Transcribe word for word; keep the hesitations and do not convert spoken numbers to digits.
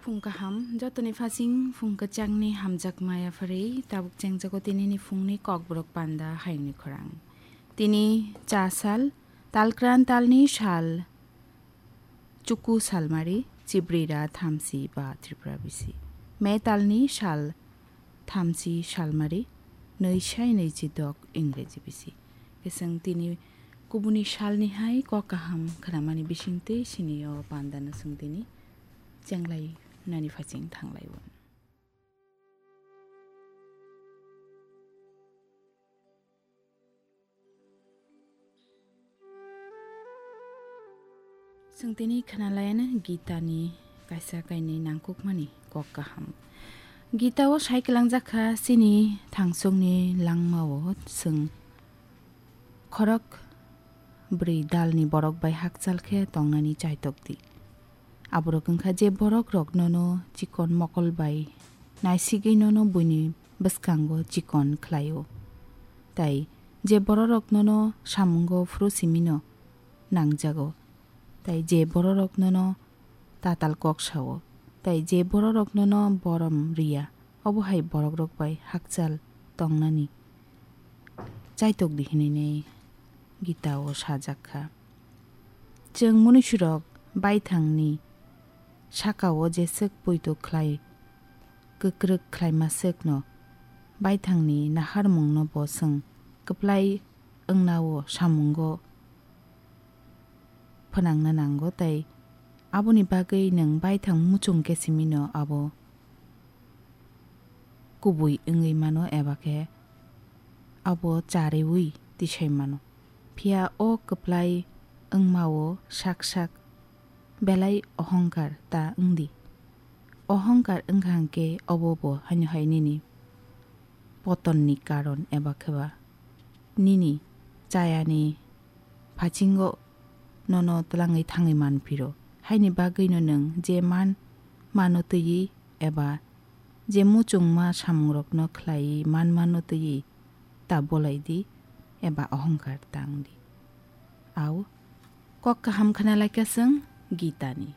Phung kaham, jotoni phasing phung kwchangni hamjakma yapharwi tabuk chengjago tinini phungni kokborok panda hayungni khorang. Tini cha sal, talkran talni sal, chuku salmari, chibrira thamsi ba Tripura bisi. Me talni sal thamsi salmari, nwi sai nwi chi dok Ingreji bisi. Kesang tini kubuni salni hai kok kaham khnamani bisingtwi sini o pandano swng tini chenglai nani phaching thanglai o. Chwng tini khwnalaiyano Gita ni kaisa kainwi nangkukmani kok kaham. Gita o sai kwlangjak kha chini thangsongni langma o chwng khorok bwrwi dalni borok bai hakchal khe tongnani chaitok di. Aborok wngkha je borok rok nono chikon mokol bai naisigwi nono buini bwskango chikon khlai o. Tai je bororok nono samungo phuru simino nangjago, tai je bororok nono tatal kok sao, tai je bororok nono borom riya, obo hai borokrok bai hakchal tongnani chaitok di hinwi Gita o sajak kha. Chwng munusurok baithangni saka o jeswk poito khlai kwkrwk khlaima swkno baithangni naharmungno bo chwng kwplai wngna o samungo phnangna nango, tai aboni bagwi nwng baithang muchung khe simino abo kubui wngwi mano eba khe abo chariui tisai mano. Phiya o kwplai wngma o sak sak belai ohongkar ta wng di. Ohongkar wngkha hwnkhe obo bo haino hai nini potonni karon eba khe ba nini chayani phasingo nono twlangwi thangwi man phiro. Haini bagwino nwng je man mano twiwi eba je muchungma samungrokno khlaiwi man mano twiwi ta bolai di eba ohongkar tang di. Au kok kaham khna lai kha chwng Gita ni.